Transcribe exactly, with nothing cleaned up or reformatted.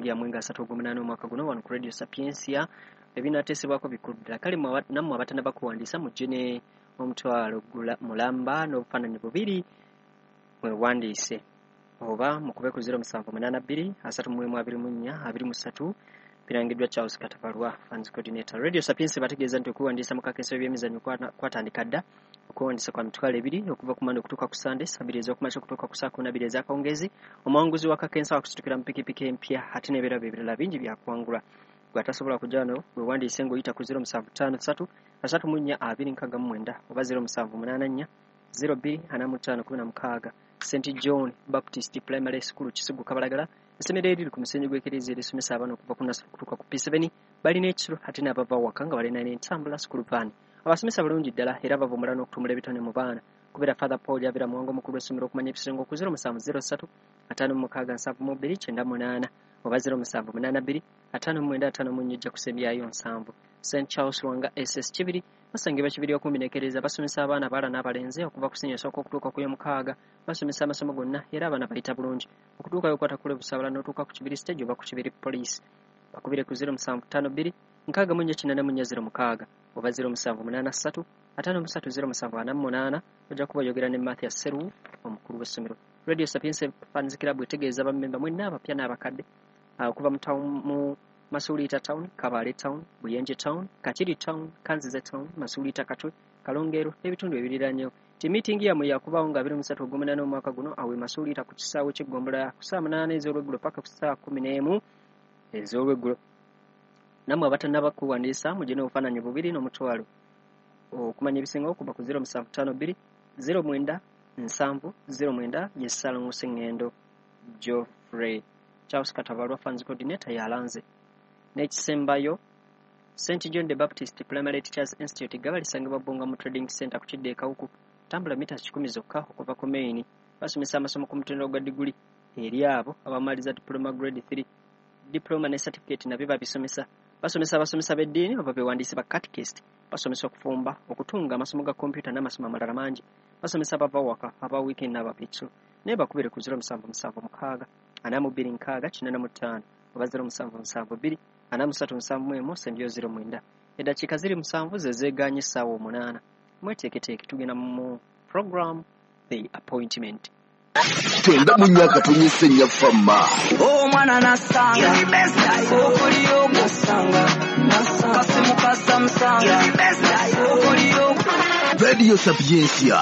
yammwe nga asatu ogw'omunaana omwaka guno wano ku Radio Sapientia. Ebinateesebwako bikulu ddala. Kale nammwe abatannaba kuwandiisa, mujje ne omutwalo mulamba n'obufaananyi bubiri mwewandiise, oba mukube ku zero musanvu munaana bbiri asatu mu emu abiri mu nnya abiri mu ssatu. Birangiddwa Charles Katabalwa, Funds Coordinator. Radio Sapientia bategeeza nti okuwandiisa mu kakensa w'ebyemizannyo kwatandika dda. Okuwandiisa kwa mitwalo ebiri okuva ku Mande okutuuka ku Sande, sabiri ez'okumakya okutuuka ku saa kumi na bbiri ez'akawungeezi. Omuwanguzi wa kakensa wakusitukira mu pikipiki empya, ate n'ebirabo ebirala bingi byakuwangulwa. Gwe atasobola kujja wano, wewandiise ng'oyita ku zero musanvu ttaano ssatu asatu mu nnya abiri nkaaga mu mwenda oba zero musanvu munaana nnya zero bbiri ana mu ttaano kumi na mukaaga. Saint John Baptist Primary School, Kisugu, Kabalagala, essomero eriri ku musenyu gw'ekereziya erisomesa abaana okuva ku nursery okutuuka ku P seven. Balina ekisulo, ate n'abava waka nga balina n'entambula, school van. Abasomesa bulungi ddala era bavumbula n'okutumbula ebitone mu baana. Kubera Father Paul Yabira Muwanga, omukulu w'essomero, okumanya ebisinga ku zero musanvu zero ssatu ataano mu mukaaga nsanvu mu bbiri kyenda munaana oba zero musanvu munaana bbiri ataano mu mwenda ataano mu nnya ojja kusembyayo nsanvu. Saint Charles Lwanga S S Kibiri basangibwa Kibiri okumpi n'ekereziya. Basomesa abaana abawala n'abalenzi okuva ku siniya esooka okutuuka ku y'omukaaga. Basomesa amasomo gonna era abaana bayita bulungi. Okutuukayo okwata kule Busaabala n'otuuka ku Kibiri stage oba ku Kibiri Police. Bakubire ku zero musanvu ttaano bbiri nkaaga mu nnya kinaana mu nnya zero mukaaga oba zero musanvu munaana ssatu ataano mu ssatu zero musanvu ana mu munaana. Ojja kuba oyogera ne Mathias Seru, omukulu w'essomero. Radio Sapientia Fans Club etegeeza bammemba mwenna abapya n'abakadde okuva mu town, mu Masuliita Town, Kabale Town, Buyenje Town, Kakiri Town, Kanzize Town, Masuliita, Katwe, Kalongero n'ebitundu ebiriranyewo ti miitingi yammwe yakubaawo nga abiri mu ssatu ogw'omunaana omwaka guno awe Masuliita ku kisaawe ky'eggombolola ku ssaawa munaana ez'olweggulo paka ku ssaawa kumi n'emu ez'olweggulo. Nammwe abatannaba kuwandiisa, mugye n'obufaananyi bubiri n'omutwalo. Okumanya ebisingawo kuba ku zero musanvu ttaano bbiri zero mwenda nsanvu zero mwenda. Ye Ssalongo Sseŋŋendo Geoffrey. Charles Katabalwa, Funds Coordinator, yalanze. N'ekisembayo, Saint John the Baptist Primary Teachers Institute Gaba lisangibwa Bbunga mu Trading Center ku kidda e Kawuku, tambula mita kikumi zokka okuva ku main. Basomesa amasomo ku mutendera gwa diguli eri abo abamaliza diploma grade three. Diploma ne certificate nabyo babisomesa. Basomesa abasomesa b'eddiini oba bewandiise ba catechist. Basomesa okufumba, okutunga, amasomo ga kompyuta n'amasomo amalala mangi. Basomesa abava waka, aba weekend n'abapitso. Naye bakubire ku zero musanvu musanvu mukaaga ana mu bbiri nkaaga kinaana mu ttaano oba zero musanvu musanvu bbiri ana mu ssatu nsanvu mu emu sembyo zero mwenda. Eddakiika ziri musanvu ze zeegaanye essaawa omunaana. Mweteeketeeke, tugenda mu program The Appointment. Kyenda mu myaka tonyese nnyafamma. Omwana nasanga okoliyo nasanga kasimu kasamusanga okoliyo. Radio Sapientia.